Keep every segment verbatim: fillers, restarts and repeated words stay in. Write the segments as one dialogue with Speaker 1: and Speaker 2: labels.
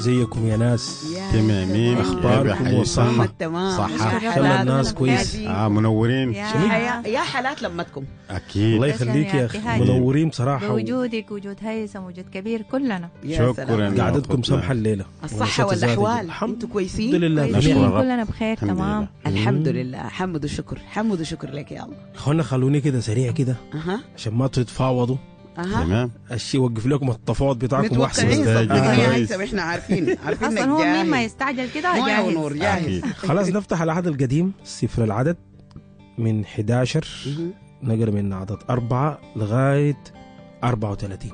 Speaker 1: ازيكم يا ناس؟
Speaker 2: يا
Speaker 3: تمامين.
Speaker 1: أخباركم
Speaker 3: يا
Speaker 1: وصحة.
Speaker 3: حيثم.
Speaker 2: تمام.
Speaker 3: صحة.
Speaker 1: إن شاء الله الناس كويس.
Speaker 3: اه منورين.
Speaker 4: يا
Speaker 2: يا يا حالات لمتكم.
Speaker 3: اكيد.
Speaker 1: الله يخليك يا اخي،
Speaker 4: ابتهاج.
Speaker 1: منورين بصراحة.
Speaker 4: بوجودك وجود هيثم وجود كبير كلنا.
Speaker 2: يا
Speaker 3: شكراً.
Speaker 2: سلام.
Speaker 3: يا
Speaker 1: قعدتكم
Speaker 3: أخوتنا.
Speaker 1: سمحه الليلة.
Speaker 2: الصحة
Speaker 1: ونشاط زادت.
Speaker 2: والأحوال،
Speaker 1: الحمد
Speaker 2: انتوا كويسين؟
Speaker 1: لله
Speaker 4: كويسين،
Speaker 1: بخير.
Speaker 3: الرب.
Speaker 4: كلنا بخير.
Speaker 3: الحمد
Speaker 4: تمام.
Speaker 3: لله.
Speaker 2: الحمد لله، حمد وشكر، حمد وشكر لك يا الله.
Speaker 1: اخوانا خلوني كده سريع كده
Speaker 2: اها
Speaker 1: عشان ما تتفاوضوا.
Speaker 2: اها
Speaker 3: تمام.
Speaker 1: الشيء وقف لكم التفاوض بتاعكم واحسن.
Speaker 2: متوقعين صدقني يا
Speaker 3: كويس.
Speaker 2: هيثم، احنا عارفين عارفين
Speaker 4: اصلا
Speaker 2: انك
Speaker 4: هو مين ما
Speaker 2: جاهز.
Speaker 4: يستعجل كده
Speaker 2: مويه
Speaker 4: جاهز.
Speaker 2: ونور جاهز.
Speaker 3: اكيد.
Speaker 1: خلاص نفتح العهد القديم، سفر العدد من حداشر،
Speaker 2: مهم.
Speaker 1: نقرا من عدد أربعة لغاية أربعة وثلاثين.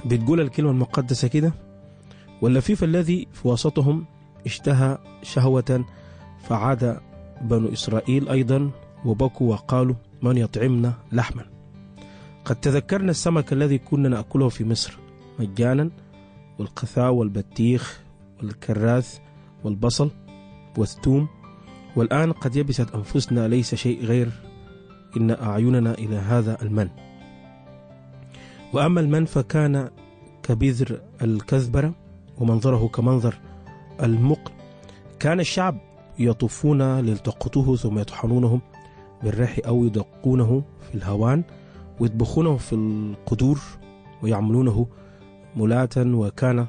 Speaker 1: بتقول الكلمة المقدسة كده: واللفيف الذي في وسطهم اشتهى شهوة، فعاد بنو إسرائيل أيضا وبكوا وقالوا: من يطعمنا لحما؟ قد تذكرنا السمك الذي كنا نأكله في مصر مجانا، والقثاء والبطيخ والكراث والبصل والثوم، والآن قد يبست أنفسنا، ليس شيء غير إن أعيننا إلى هذا المن. وأما المن فكان كبذر الكزبرة ومنظره كمنظر المقل. كان الشعب يطوفون ليلتقطوه ثم يطحنونه بالرحي أو يدقونه في الهوان ويطبخونه في القدور ويعملونه ملاة، وكان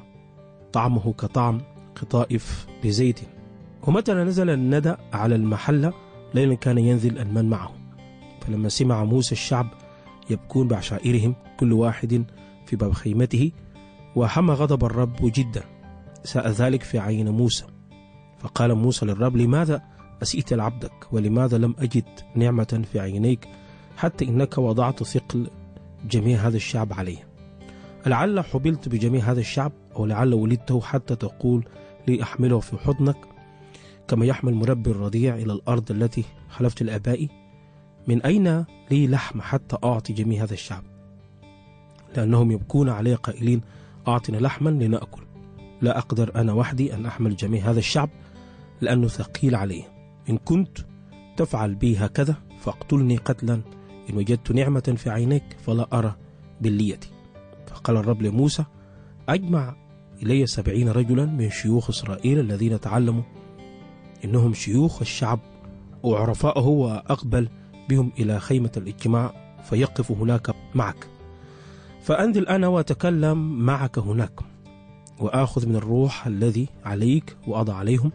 Speaker 1: طعمه كطعم قطائف بزيت. ومتى نزل الندى على المحلة ليلا كان ينزل المن معه. فلما سمع موسى الشعب يبكون بعشائرهم كل واحد في باب خيمته، وحمى غضب الرب جدا، ساء ذلك في عين موسى. فقال موسى للرب: لماذا أسئت لعبدك؟ ولماذا لم أجد نعمة في عينيك حتى إنك وضعت ثقل جميع هذا الشعب علي؟ لعل حبلت بجميع هذا الشعب، أو لعل ولدته حتى تقول لي أحمله في حضنك كما يحمل مربي الرضيع إلى الأرض التي حلفت لآبائي؟ من أين لي لحم حتى أعطي جميع هذا الشعب؟ لأنهم يبكون علي قائلين: أعطنا لحما لنأكل. لا أقدر أنا وحدي أن أحمل جميع هذا الشعب لأنه ثقيل علي. إن كنت تفعل بي هكذا فاقتلني قتلا إن وجدت نعمة في عينيك، فلا أرى بليتي. فقال الرب لموسى: أجمع إلي سبعين رجلا من شيوخ إسرائيل الذين تعلموا إنهم شيوخ الشعب وعرفائه، وأقبل بهم إلى خيمة الاجتماع فيقف هناك معك، فأنزل أنا وأتكلم معك هناك، وآخذ من الروح الذي عليك وأضع عليهم،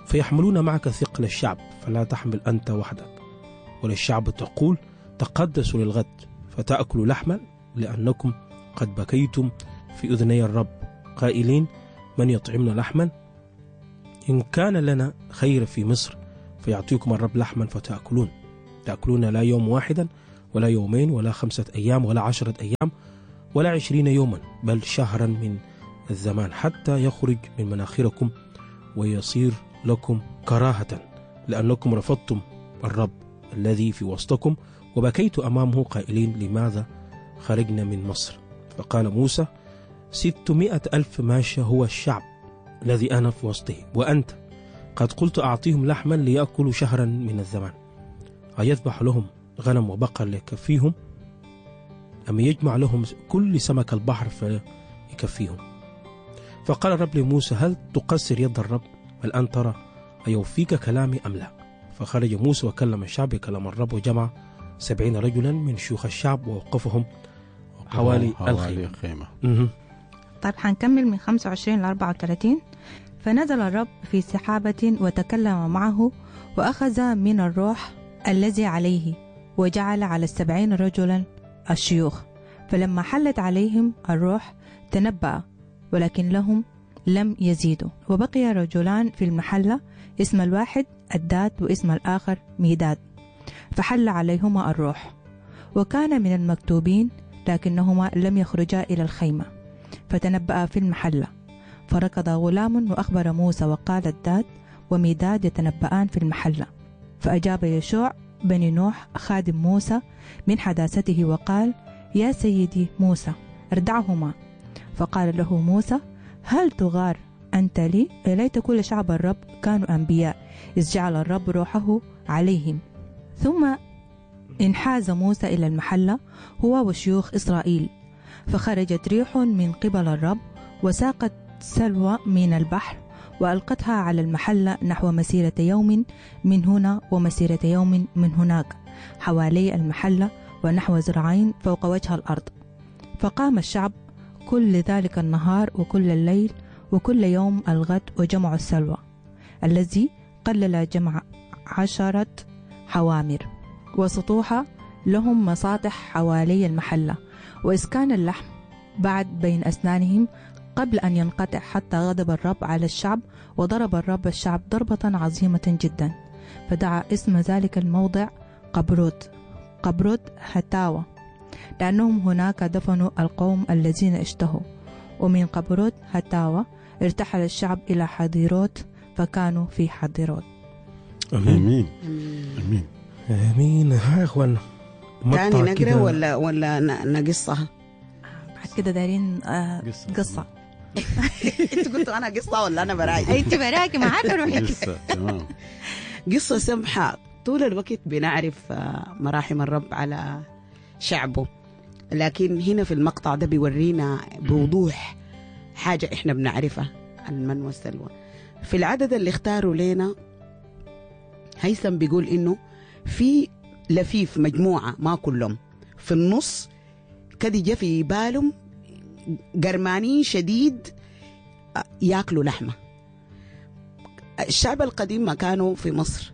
Speaker 1: فيحملون معك ثقل الشعب، فلا تحمل أنت وحدك. وللشعب تقول: تقدسوا للغد فتأكلوا لحما، لأنكم قد بكيتم في أذني الرب قائلين: من يطعمنا لحما؟ إن كان لنا خير في مصر. فيعطيكم الرب لحما فتأكلون، تأكلون لا يوم واحدا ولا يومين ولا خمسة أيام ولا عشرة أيام ولا عشرين يوما، بل شهرا من الزمان، حتى يخرج من مناخركم ويصير لكم كراهة، لأنكم رفضتم الرب الذي في وسطكم وبكيت أمامه قائلين: لماذا خرجنا من مصر؟ فقال موسى: ستمائة ألف ماشية هو الشعب الذي أنا في وسطه، وأنت قد قلت أعطيهم لحما ليأكلوا شهرا من الزمان. أيذبح لهم غنم وبقر ليكفيهم، أم يجمع لهم كل سمك البحر فيكفيهم؟ فقال الرب لموسى: هل تقصر يد الرب؟ الآن ترى أيوفيك كلامي أم لا؟ فخرج موسى وكلم الشعب بكلام الرب، وجمع سبعين رجلا من شيوخ الشعب ووقفهم حوالي
Speaker 3: حوالي
Speaker 1: الخيمة.
Speaker 3: الخيمة.
Speaker 1: مهم.
Speaker 4: طيب، حنكمل من خمسة وعشرين ل أربعة وثلاثين. فنزل الرب في سحابة وتكلم معه، وأخذ من الروح الذي عليه وجعل على السبعين رجلا الشيوخ، فلما حلت عليهم الروح تنبأ، ولكن لهم لم يزيدوا. وبقي رجلان في المحلة، اسم الواحد الداد واسم الآخر ميداد، فحل عليهما الروح وكان من المكتوبين، لكنهما لم يخرجا إلى الخيمة، فتنبأ في المحلة. فركض غلام وأخبر موسى وقال: الداد وميداد يتنبأان في المحلة. فأجاب يشوع بن نوح خادم موسى من حداثته وقال: يا سيدي موسى، اردعهما. فقال له موسى: هل تغار أنت لي؟ ليت كل شعب الرب كانوا أنبياء، إذ جعل الرب روحه عليهم. ثم انحاز موسى إلى المحلة هو وشيوخ إسرائيل، فخرجت ريح من قبل الرب وساقت سلوى من البحر وألقتها على المحلة نحو مسيرة يوم من هنا ومسيرة يوم من هناك حوالي المحلة ونحو ذراعين فوق وجه الأرض. فقام الشعب كل ذلك النهار وكل الليل وكل يوم الغد وجمعوا السلوى الذي قلل جمع عشرة حوامر وسطوحة لهم مساطح حوالي المحلة، وإسكان اللحم بعد بين أسنانهم قبل أن ينقطع، حتى غضب الرب على الشعب وضرب الرب الشعب ضربة عظيمة جدا، فدعا اسم ذلك الموضع قبروت قبروت هتاوى، لأنهم هناك دفنوا القوم الذين اشتهوا. ومن قبروت هتاوى ارتحل الشعب إلى حضيروت، فكانوا في حضيروت.
Speaker 1: امين
Speaker 3: امين
Speaker 1: امين. ها يا اخوانا،
Speaker 2: تاني نقرا ولا ولا نقصها؟
Speaker 4: بعد كده دايرين آه قصة, قصة.
Speaker 2: انت قلتوا انا قصة ولا انا براي؟
Speaker 4: انت براكي معاك روحك.
Speaker 3: قصة تمام.
Speaker 2: قصة سمحه. طول الوقت بنعرف مراحم الرب على شعبه، لكن هنا في المقطع ده بيورينا بوضوح حاجة احنا بنعرفها، المن والسلوى. في العدد اللي اختاروا لنا هيثم بيقول انه في لفيف مجموعة ما كلهم في النص كده جا في بالهم قرمانين شديد ياكلوا لحمة. الشعب القديم ما كانوا في مصر،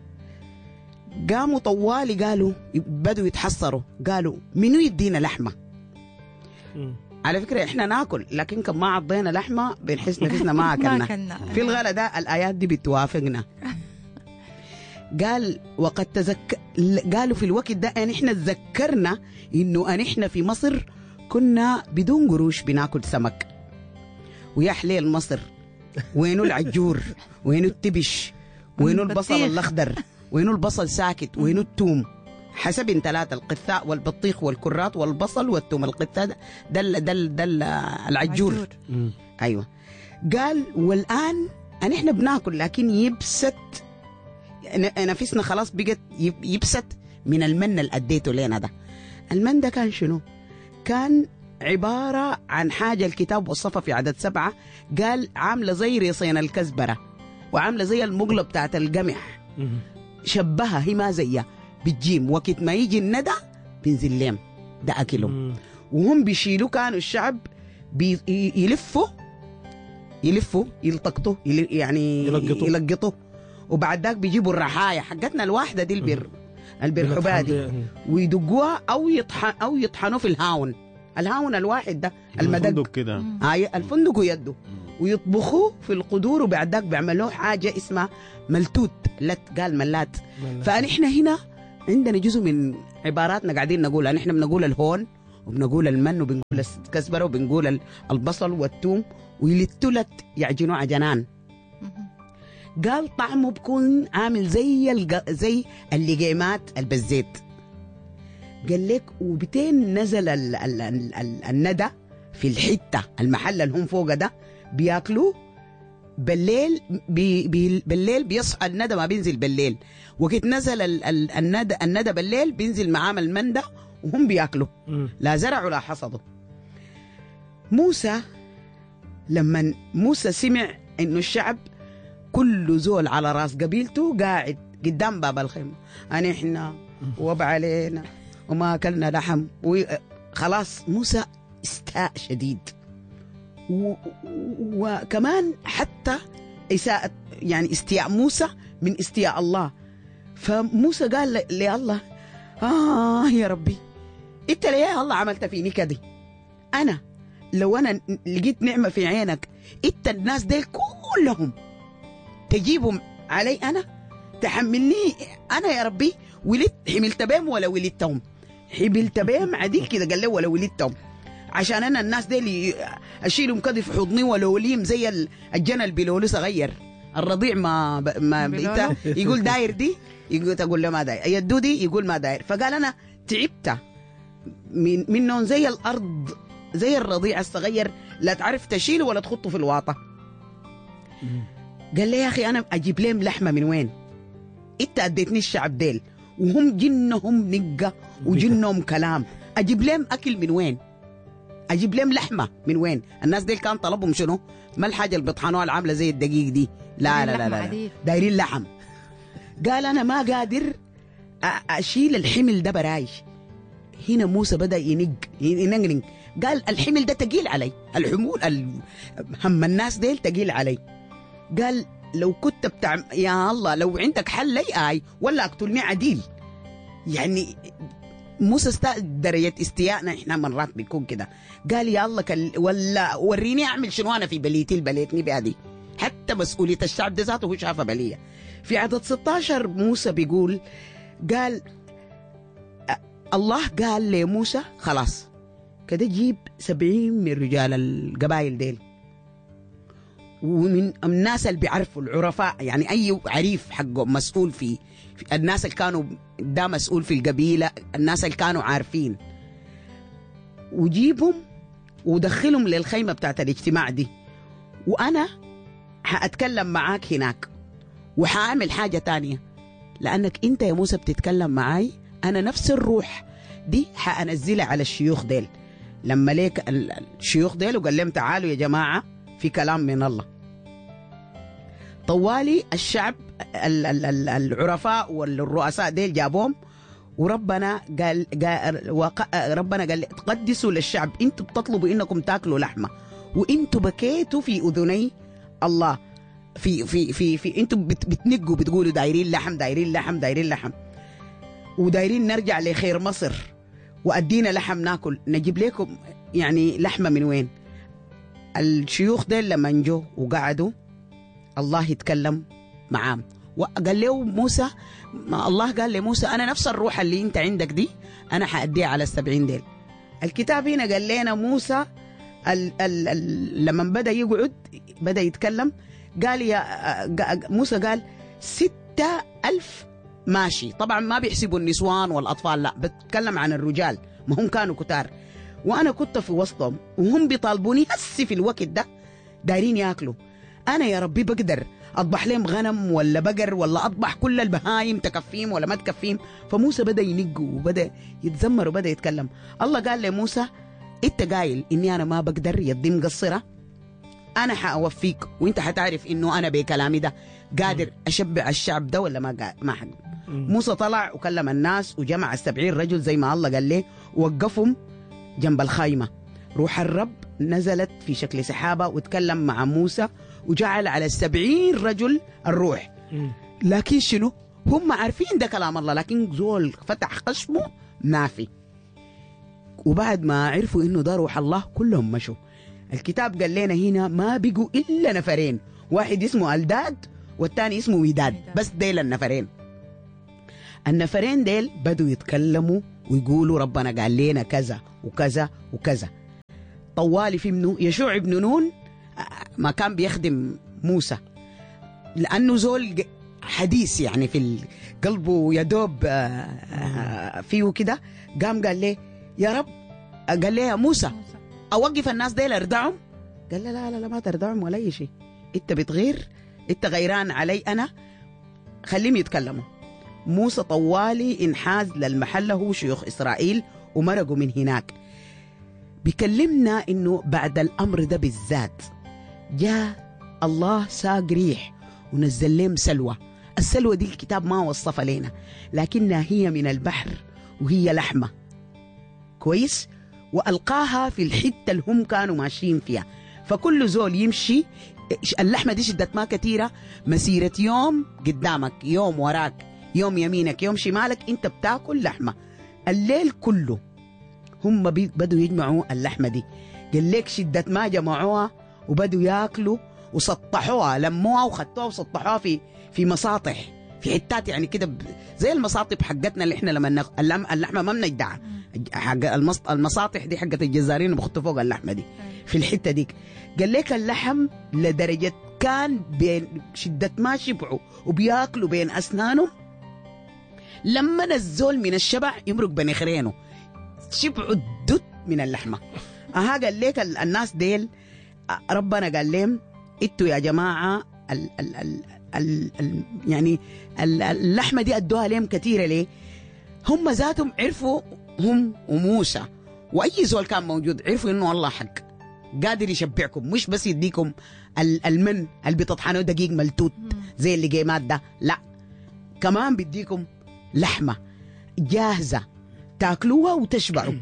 Speaker 2: قاموا طوالي قالوا بدوا يتحصروا، قالوا منو يدينا لحمة؟ على فكرة احنا ناكل، لكن كم ما عضينا لحمة بنحس نفسنا ما أكلنا. في الغلا ده الآيات دي بتوافقنا. قال وقد تذك... قالوا في الوقت ده ان احنا تذكرنا انه ان احنا في مصر كنا بدون قروش بناكل سمك، ويا حليل مصر، وينو العجور، وينو التبش، وينو البصل الاخضر، وينو البصل ساكت، وينو التوم، حسب ثلاثة: القثاء والبطيخ والكرات والبصل والثوم. القثاء ده ده ده العجور. ايوه. قال والان ان احنا بناكل، لكن يبست نفسنا خلاص، بقت يبست من المن اللي اديته لنا ده. المن ده كان شنو؟ كان عبارة عن حاجة الكتاب وصفها في عدد سبعة، قال عاملة زي ريصين الكزبرة وعاملة زي المقلة بتاعت القمح، شبهها هي ما زيها بالجيم. وقت ما يجي الندى بينزل لهم ده أكلهم، وهم بيشيلوا. كانوا الشعب بيلفوا يلفوا يلتقطوا يعني يلقطوا يلقطوا، وبعد ذاك بيجيبوا الرحايا حقتنا الواحدة دي البر البرحبة دي ويدقوها أو يطحن أو يطحنوا في الهاون، الهاون الواحد ده المدق
Speaker 3: الفندق كده،
Speaker 2: آه الفندق ويده، ويطبخوه في القدور، وبعد ذاك بيعملوه حاجة اسمها ملتوت، لت قال ملات. فنحن هنا عندنا جزء من عباراتنا قاعدين نقولها، نحن بنقول الهون وبنقول المن وبنقول الكزبرة وبنقول البصل والثوم، ويلتلت يعجنوا عجنان. قال طعمه بكون عامل زي الج... زي اللقيمات البزيت. قال لك وبتين نزل ال... ال... ال... ال... الندى في الحتة المحل اللي هم فوق ده بياكلوه بالليل، بي... بي... بالليل بيصحى الندى ما بينزل بالليل، وقت نزل ال... ال... الندى الندى بالليل بينزل معاه المندى وهم بياكلوا، لا زرعوا لا حصدوا. موسى لما موسى سمع انه الشعب كل زول على راس قبيلته قاعد قدام باب الخيمة، أنا إحنا وب علينا وما أكلنا لحم خلاص، موسى استاء شديد. و... وكمان حتى إساءة يعني استياء موسى من استياء الله. فموسى قال لله آه يا ربي، أنت ليه يا الله عملت فيني كده؟ أنا لو أنا لقيت نعمة في عينك، أنت الناس دي كلهم تجيبهم علي أنا، تحملني أنا يا ربي، ولدت حملت بهم ولا ولدتهم؟ حملت بهم عديل كده. قال له ولا ولدتهم، عشان أنا الناس دي أشيلهم كده في حضني ولوليم زي الجنى اللي صغير الرضيع ما ب... ما بيتا يقول داير دي، يقول تقول له ما داير، يدو دي يقول ما داير. فقال أنا تعبت من منهم زي الأرض، زي الرضيع الصغير لا تعرف تشيله ولا تخطه في الواطة. قال لي يا أخي أنا أجيب لهم لحمة من وين؟ أنت أديتني الشعب ديل وهم جنهم نقة وجنهم كلام، أجيب لهم أكل من وين؟ اجيب لهم لحمه من وين؟ الناس دي كان طلبهم شنو؟ ما الحاجة اللي بيطحنوها العاملة زي الدقيق دي، لا لا لا لا, لا. دايرين لحم. قال انا ما قادر اشيل الحمل ده براي. هنا موسى بدا ينق ينقنق، قال الحمل ده تقيل علي، الحمول هم الناس ديل تقيل علي. قال لو كنت بتاع يا الله لو عندك حل لي آي ولا اقتلني عديل. يعني موسى است... درجة استيائنا احنا مرات بيكون كده. قال يا الله كل... ولا وريني اعمل شنو انا في بليتي البليتني بهذه، حتى مسؤولية الشعب ده ذاته هو شافها بلية. في عدد ستاشر موسى بيقول، قال الله قال لموسى خلاص كده جيب سبعين من رجال القبائل ديل ومن الناس اللي بيعرفوا العرفاء، يعني أي عريف حقه مسؤول في, في الناس اللي كانوا ده مسؤول في القبيلة، الناس اللي كانوا عارفين، وجيبهم ودخلهم للخيمة بتاعت الاجتماع دي، وأنا حأتكلم معاك هناك وحأعمل حاجة تانية، لأنك أنت يا موسى بتتكلم معاي، أنا نفس الروح دي حأنزلها على الشيوخ ديل. لما ليك الشيوخ ديل وقال لهم تعالوا يا جماعة في كلام من الله. طوالي الشعب العرفاء والرؤساء ديل جابوهم، وربنا قال, قال ربنا قال تقدسوا للشعب، انتوا بتطلبوا انكم تاكلوا لحمه، وانتوا بكيتوا في اذني الله، في في في في انتوا بتنقوا بتقولوا دايرين لحم دايرين لحم دايرين لحم، ودايرين نرجع لخير مصر وادينا لحم ناكل، نجيب لكم يعني لحمه من وين؟ الشيوخ ديل لما جو وقعدوا الله يتكلم معاهم، وقال له موسى، ما الله قال لموسى أنا نفس الروح اللي أنت عندك دي أنا حأديها على السبعين ديل. الكتاب هنا قال لنا موسى ال ال ال لما بدأ يقعد بدأ يتكلم، قال يا موسى قال ستة ألف ماشي. طبعا ما بيحسبوا النسوان والأطفال، لا بتكلم عن الرجال، ما هم كانوا كتار، وأنا كنت في وسطهم وهم بيطالبوني هسي في الوقت ده دايرين ياكلوا. أنا يا ربي بقدر أطبح لهم غنم ولا بقر ولا أطبح كل البهايم تكفيهم ولا ما تكفيهم؟ فموسى بدأ ينق وبدأ يتذمر وبدأ يتكلم. الله قال لموسى أنت قايل إني أنا ما بقدر، يدي مقصرة، أنا حأوفيك وإنت حتعرف إنه أنا بكلامي ده قادر أشبع الشعب ده ولا ما ما حق. موسى طلع وكلم الناس وجمع السبعين رجل زي ما الله قال له، ووقفهم جنب الخيمة. روح الرب نزلت في شكل سحابة وتكلم مع موسى وجعل على السبعين رجل الروح. لكن شنو؟ هم عارفين ده كلام الله، لكن زول فتح خشمه ما في. وبعد ما عرفوا انه ده روح الله كلهم مشوا. الكتاب قال لنا هنا ما بقوا الا نفرين، واحد اسمه الداد والثاني اسمه ميداد، بس ديل النفرين. النفرين ديل بدوا يتكلموا ويقولوا ربنا قال لنا كذا وكذا وكذا. طوالي في منه يشوع بن نون ما كان بيخدم موسى لأنه زول حديث يعني في قلبه يدوب فيه كده، قام قال لي يا رب، قال لي يا موسى أوقف الناس ديل أردعهم؟ قال له لا لا لا ما تردعهم ولا أي شيء، أنت بتغير، أنت غيران علي أنا، خليهم يتكلموا. موسى طوالي انحاز للمحل هو شيوخ إسرائيل ومرقوا من هناك. بيكلمنا إنه بعد الأمر ده بالذات جاء الله ساق ريح ونزل لهم سلوى. السلوى دي الكتاب ما وصفها لنا، لكنها هي من البحر وهي لحمة كويس، وألقاها في الحتة اللي هم كانوا ماشيين فيها. فكل زول يمشي اللحمة دي شدت ما كثيرة، مسيرة يوم قدامك يوم وراك يوم يمينك يوم شمالك، انت بتاكل لحمة الليل كله. هم بدوا يجمعوا اللحمة دي، قال لك شدة ما جمعوها وبدوا ياكلوا وسطحوها، لموها وخدتوها وسطحوها في في مساطح، في حتات يعني كده زي المساطب حقتنا اللي احنا لما اللحمة ما بنجدعها، حق المساطح دي حقت الجزارين وبخطوا فوق اللحمة دي في الحتة ديك. قال لك اللحم لدرجة كان بين شدة ما شبعوا وبياكلوا بين أسنانهم، لما نزول من الشبع يمرق بنخرينه، شبعوا الدت من اللحمة. أها قال لك الناس ديل ربنا قال لهم انتوا يا جماعة ال ال ال ال ال يعني اللحمة دي أدوها لهم كثيرة ليه؟ هم ذاتهم عرفوا، هم وموسى واي زول كان موجود عرفوا انه الله حق قادر يشبعكم، مش بس يديكم المن اللي بتطحنوه دقيق ملتوت زي اللي جيمات ده، لا كمان بيديكم لحمه جاهزة تاكلوها وتشبعوا.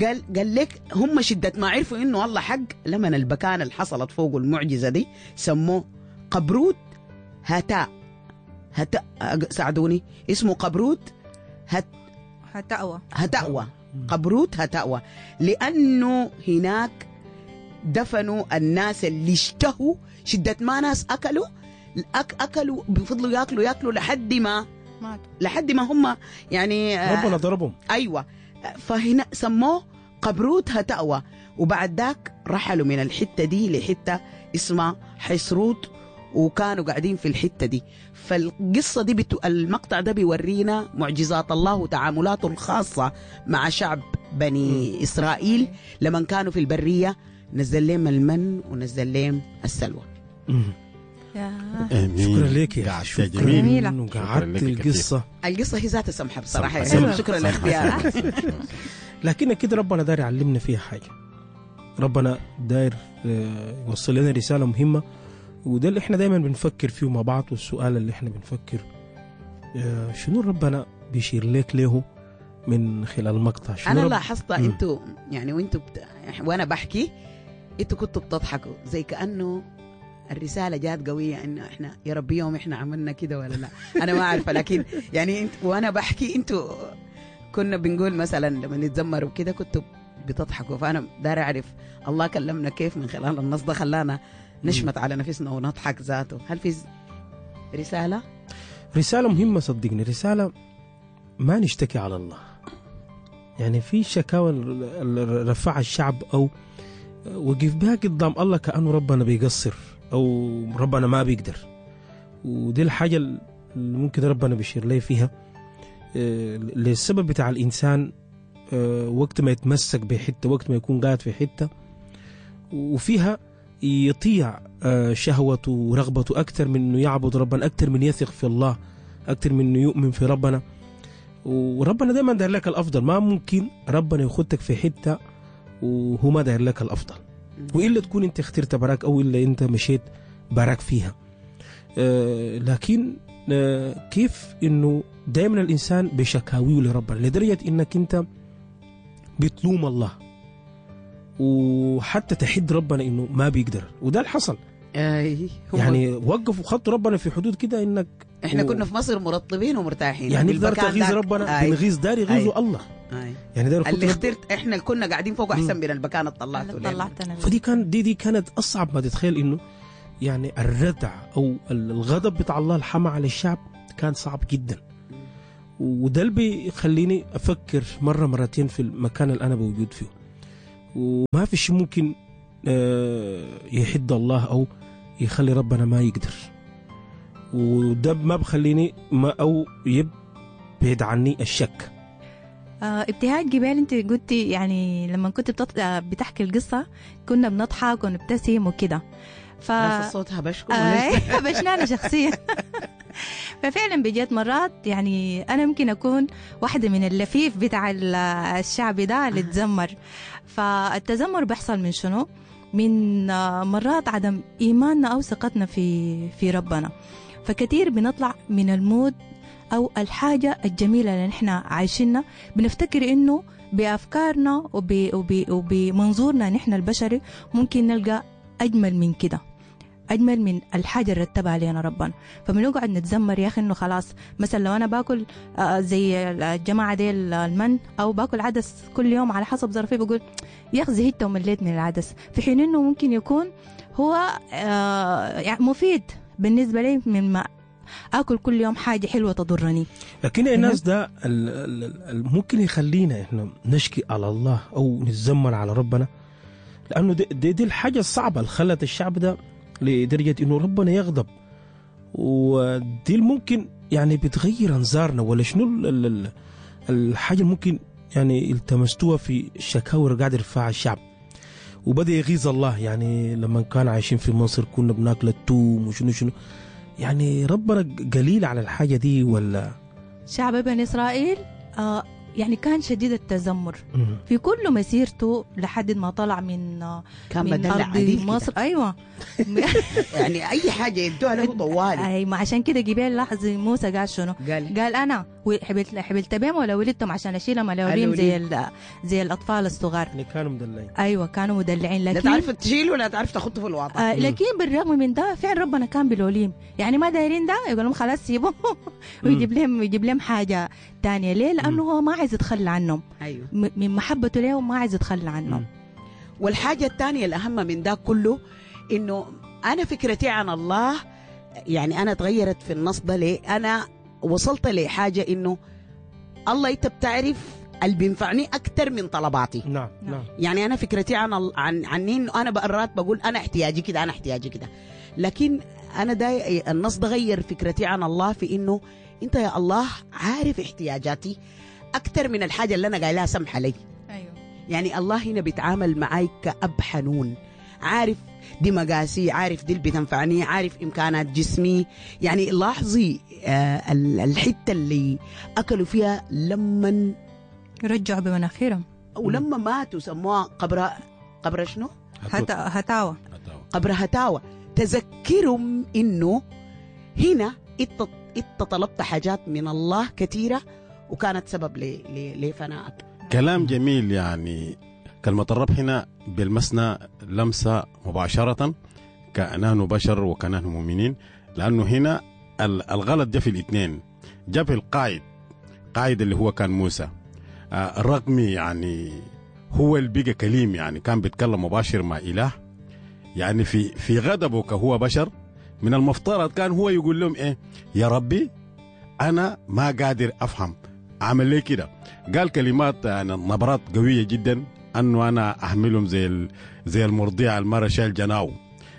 Speaker 2: قال قال لك هم شدة ما عرفوا انه الله حق، لمن البكان اللي حصلت فوق المعجزة دي سموه قبروت هتاء. هتاء ساعدوني، اسمه قبروت هت
Speaker 4: هتأوى.
Speaker 2: هتأوى، قبروت هتأوى، لأنه هناك دفنوا الناس اللي اشتهوا شدة ما ناس أكلوا أك أكلوا بفضلوا ياكلوا ياكلوا لحد ما
Speaker 4: ماتوا،
Speaker 2: لحد ما هم يعني
Speaker 1: ربنا ضربهم.
Speaker 2: أيوة، فهنا سموه قبروت هتأوى. وبعد ذاك رحلوا من الحتة دي لحتة اسمها حسروت، وكانوا قاعدين في الحتة دي. فالقصة دي بتو... المقطع ده بيورينا معجزات الله وتعاملاته الخاصة مع شعب بني إسرائيل لما كانوا في البرية. نزل لهم المن ونزل لهم السلوى.
Speaker 1: شكرا لك يا
Speaker 3: شكرا
Speaker 1: جميل، قعدت القصة.
Speaker 2: القصة هي ذاتها سمحة بصراحة، يعني شكرا لاختيارك.
Speaker 1: لكن كده ربنا داير يعلمنا فيها حاجة، ربنا داير يوصل لنا رسالة مهمة، وده اللي احنا دايما بنفكر فيه مع بعض. والسؤال اللي احنا بنفكر شنو ربنا بيشير لك له من خلال المقطع؟ شنو
Speaker 2: انا لاحظت انتوا يعني وانتوا بت... وانا بحكي انتوا كنتوا بتضحكوا زي كانه الرسالة جات قوية، انه احنا يا ربي يوم احنا عملنا كده ولا لا، انا ما عارفه. لكن يعني انت وانا بحكي انتوا كنا بنقول مثلا لما نتذمر وكده كنتوا بتضحكوا، فانا داير اعرف الله كلمنا كيف من خلال النص ده، خلانا نشمت على نفسنا ونضحك ذاته. هل في رسالة؟
Speaker 1: رسالة مهمة صدقني، رسالة ما نشتكي على الله. يعني في شكاوى رفعها الشعب أو وقف بها قدام الله كأنه ربنا بيقصر أو ربنا ما بيقدر، ودي الحاجة اللي ممكن ربنا بيشير لي فيها للسبب بتاع الإنسان وقت ما يتمسك بحتة، وقت ما يكون قاعد في حتة وفيها يطيع شهوته ورغبته أكثر من أنه يعبد ربنا، أكثر من يثق في الله، أكثر من أنه يؤمن في ربنا. وربنا دايما داير لك الأفضل، ما ممكن ربنا يخدك في حتة وهو ما داير لك الأفضل، وإلا تكون أنت اخترت براك أو إلا أنت مشيت براك فيها. لكن كيف أنه دايما الإنسان بشكاويه لربنا لدرجة أنك أنت بتلوم الله وحتى تحد ربنا انه ما بيقدر، وده اللي حصل.
Speaker 2: اي
Speaker 1: يعني وقفوا خط ربنا في حدود كده، انك
Speaker 2: احنا
Speaker 1: و...
Speaker 2: كنا في مصر مرطبين ومرتاحين،
Speaker 1: يعني دار تغيظ ربنا بنغيظ دار يغيظوا الله.
Speaker 2: أي.
Speaker 1: يعني دار
Speaker 2: اللي اخترت احنا اللي كنا قاعدين فوق احسن من المكان اللي طلعته.
Speaker 1: فدي كان دي دي كانت اصعب ما تتخيل، انه يعني الردع او الغضب بتاع الله الحمى على الشعب كان صعب جدا، وده اللي بيخليني افكر مرة مرتين في المكان اللي انا موجود فيه. وما في شيء ممكن يحد الله أو يخلي ربنا ما يقدر، وده ما بخليني ما أو يبعد عني الشك.
Speaker 4: آه ابتهاج جبال، انت قلتي يعني لما كنت بتط... بتحكي القصة كنا بنضحك ونبتسم وكده،
Speaker 2: ف الصوت هبشكم
Speaker 4: آه هبشنا انا شخصيا. ففعلا بجد مرات يعني انا ممكن اكون واحدة من اللفيف بتاع الشعب ده اللي تزمر. فالتذمر بيحصل من شنو؟ من مرات عدم ايماننا او ثقتنا في في ربنا. فكثير بنطلع من ال mood او الحاجة الجميلة اللي نحن عايشينها، بنفتكر انه بافكارنا وب وب وبمنظورنا نحن البشري ممكن نلقى اجمل من كده، أجمل من الحاجة اللي رتبها علينا ربنا. فبنقعد نتذمر يا أخي إنه خلاص، مثلا لو أنا باكل زي الجماعة دي المن أو باكل عدس كل يوم على حسب ظرفي، بقول يا أخي زهقت ومليت من العدس، في حين إنه ممكن يكون هو مفيد بالنسبة لي من ما آكل كل يوم حاجة حلوة تضرني.
Speaker 1: لكن الناس ده ممكن يخلينا إحنا نشكي على الله أو نتذمر على ربنا، لأنه دي, دي, دي الحاجة الصعبة اللي خلت الشعب ده لدرجة إنه ربنا يغضب، ودي ممكن يعني بتغير أنظارنا. ولا شنو الحاجة اللي ممكن يعني التمستوها في الشكاوى اللي قاعد يرفعها الشعب وبدأ يغيظ الله؟ يعني لما كان عايشين في مصر كنا بناكل التوم وشنو شنو، يعني ربنا قليل على الحاجة دي ولا؟
Speaker 4: شعب بني إسرائيل آه يعني كان شديد التذمر في كل مسيرته لحد ما طلع من
Speaker 2: كان
Speaker 4: من
Speaker 2: بدلع
Speaker 4: أرض
Speaker 2: عديل
Speaker 4: مصر
Speaker 2: كده.
Speaker 4: ايوه
Speaker 2: يعني اي حاجة يدوها له طوالي.
Speaker 4: اي ما عشان كده جبال لاحظ موسى قال شنو؟
Speaker 2: قال
Speaker 4: قال انا حبلت حبلت بهم ولا ولدتهم عشان اشيلهم الأولين زي ال- زي الاطفال الصغار.
Speaker 1: يعني كانوا مدلعين.
Speaker 4: ايوه كانوا مدلعين،
Speaker 2: لا
Speaker 4: لكن
Speaker 2: تعرف تشيل ولا تعرف تخطه في الواطه.
Speaker 4: آه لكن بالرغم من ده فعلا ربنا كان بالوليم، يعني ما دايرين ده يقول لهم خلاص سيبوه ويجيب لهم يجيب لهم حاجة ثانية. ليه؟ لانه هو ما عايز يتخلى عنهم.
Speaker 2: ايوه
Speaker 4: م- من محبته لهم ما عايز يتخلى عنهم.
Speaker 2: والحاجة الثانية الاهم من ده كله انه انا فكرتي عن الله، يعني انا تغيرت في النص ده ليه؟ انا وصلت لحاجة انه الله انت بتعرف اللي بينفعني اكثر من طلباتي.
Speaker 1: نعم نعم.
Speaker 2: يعني انا فكرتي عن ال- عن عني انه انا مرات بقول انا احتياجي كده انا احتياجي كده، لكن انا ده النص ده غير فكرتي عن الله في انه انت يا الله عارف احتياجاتي اكثر من الحاجة اللي انا قايلها سمحه لي.
Speaker 4: ايوه
Speaker 2: يعني الله هنا بيتعامل معاي كأب حنون، عارف دي مقاسي، عارف دي اللي بتنفعني، عارف إمكانات جسمي. يعني لاحظي آه الحتة اللي أكلوا فيها لما
Speaker 4: رجعوا بمناخيرهم
Speaker 2: ولما ماتوا سموها قبر قبر شنو؟
Speaker 4: هت... هتاوى
Speaker 2: قبر هتاوى. تذكرهم إنه هنا إنت إنت طلبت حاجات من الله كثيرة وكانت سبب ل... ل... لفنائك.
Speaker 3: كلام جميل. يعني كلمة الرب هنا بلمسنا لمسة مباشرة كأنه بشر وكأنه مؤمنين، لأنه هنا الغلط جاء في الاثنين، جاء في القائد، قائد اللي هو كان موسى، الرغم يعني هو اللي بقى كليم، يعني كان بيتكلم مباشر مع إله، يعني في في غضبه كهو بشر من المفترض كان هو يقول لهم إيه يا ربي أنا ما قادر أفهم عمل لي كده. قال كلمات يعني نبرات قوية جدا أنه أنا أحملهم زي زي المرضيع المرة شايل جناو،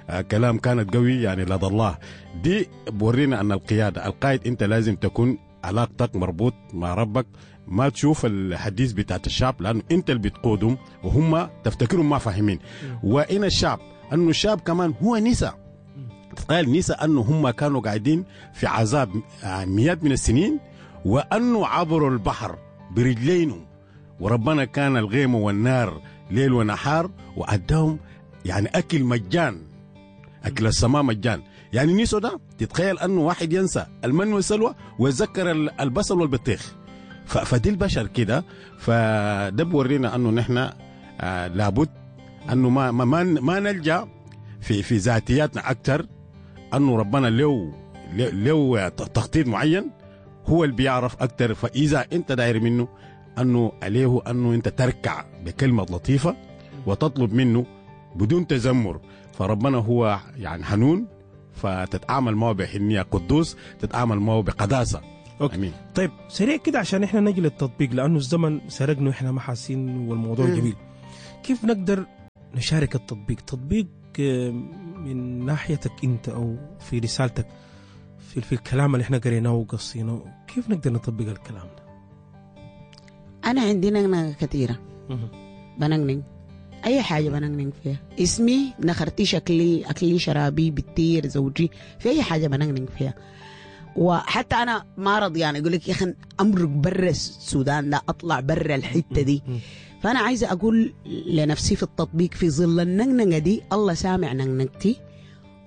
Speaker 3: آه كلام كانت قوي يعني لدى الله. دي بورينا أن القيادة القائد أنت لازم تكون علاقتك مربوط مع ربك، ما تشوف الحديث بتاعت الشعب لأنه أنت اللي بتقودهم وهم تفتكرهم ما فاهمين. وإن الشعب أنه الشعب كمان هو نسى، تخيل نسى أنه هم كانوا قاعدين في عذاب مئات من السنين، وأنه عبروا البحر برجلينهم وربنا كان الغيم والنار ليل ونهار وأداهم يعني أكل مجان، أكل السماء مجان. يعني نيسو ده تتخيل أنه واحد ينسى المن والسلوى ويتذكر البصل والبطيخ. فدي البشر كده. فده بورينا أنه نحن آه لابد أنه ما, ما, ما نلجأ في, في ذاتياتنا أكثر، أنه ربنا له له تخطيط معين هو اللي بيعرف أكتر. فإذا أنت داير منه أنه عليه أنه أنت تركع بكلمة لطيفة وتطلب منه بدون تذمر، فربنا هو يعني حنون، فتتعامل معه بحنية، قدوس تتعامل معه بقداسة.
Speaker 1: okay. أمين. طيب سريع كده عشان إحنا نجي للتطبيق لأنه الزمن سرقنا وإحنا ما حاسين والموضوع م. جميل. كيف نقدر نشارك التطبيق؟ تطبيق من ناحيتك أنت أو في رسالتك في, في الكلام اللي احنا قريناه وقصيناه، كيف نقدر نطبق الكلام ده؟
Speaker 2: أنا عندي نغنغة كثيرة، بنغنغ أي حاجة بنغنغ فيها، اسمي نخرتي شكلي أكلي شرابي بتير زوجي، في أي حاجة بنغنغ فيها. وحتى أنا ما رضي يعني أقول لك يا أخي أمرق برا السودان، لا أطلع برا الحتة دي. فأنا عايزة أقول لنفسي في التطبيق في ظل النغنغة دي الله سامع نغنغتي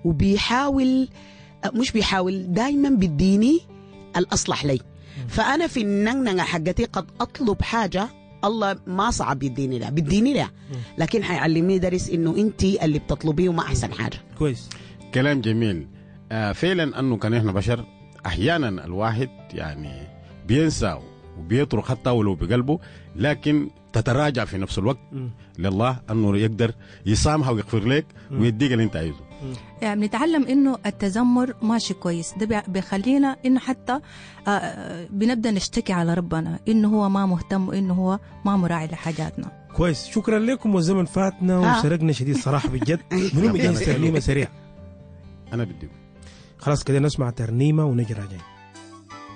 Speaker 2: وبيحاول، مش بيحاول، دايما بيديني الأصلح لي. فأنا في النغنغة حقتي قد أطلب حاجة الله ما صعب يديني لها، بيديني لها، لكن حيعلمني درس إنه أنت اللي بتطلبيه ما أحسن حاجة.
Speaker 1: كويس،
Speaker 3: كلام جميل. آه فعلا أنه كان إحنا بشر أحيانا الواحد يعني بينسى وبيترك حتى ولو بقلبه، لكن تتراجع في نفس الوقت م. لله أنه يقدر يسامح ويغفر لك ويديك اللي أنت عايزه.
Speaker 4: يعني بنتعلم إنه التذمر ماشي كويس، ده بيخلينا إنه حتى بنبدأ نشتكي على ربنا إنه هو ما مهتم وإنه هو ما مراعي لحاجاتنا.
Speaker 1: كويس، شكرا لكم والزمن فاتنا وسرقنا شديد صراحة بجد. منو مجهز ترنيمة سريع؟
Speaker 3: أنا بدي
Speaker 1: خلاص كده نسمع ترنيمة ونجي راجعين.